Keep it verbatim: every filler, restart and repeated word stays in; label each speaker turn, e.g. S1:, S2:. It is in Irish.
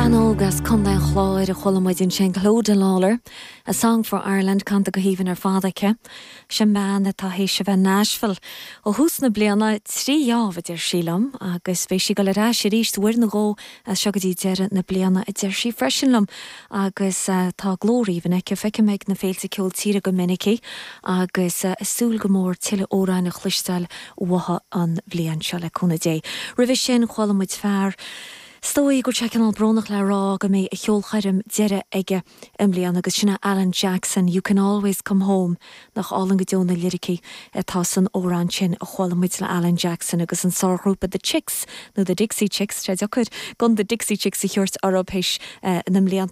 S1: Bean óg as Contae an Chláir a chuala muid ansin Clodagh Lawlor, a Song for Ireland canta go haoibhinn ar fad aici. Sin bean atá théis a bheith Nashville ó thús na bliana trí dheámh a deir sí liom agus beidh sí ag dul ar ais arís uair nó dhó as seo go dtí deireadh na bliana a deir sí freisin liom agus uh, tá glór aoibhinn aici feicim ag na féilte ceol tíre go minic í agus uh, súil go mór tuilleadh amhrán a chloisteáil uaithi an bhliain seo le cúnamh Dé. Roimhe sin chuala muid fear Is dóigh go bhfuil sé cineál brónach le rá go mbeidh a cheolchoirm deiridh aige i mbliana agus sin Alan Jackson, You Can Always Come Home nach álainn go deo na liricí atá san amhrán sin a chuala muid le Alan Jackson agus an sárghrúpa The Chicks nó the Dixie Chicks sé deacair gan the Dixie Chicks a thabhairt orthu théis uh, na mblianta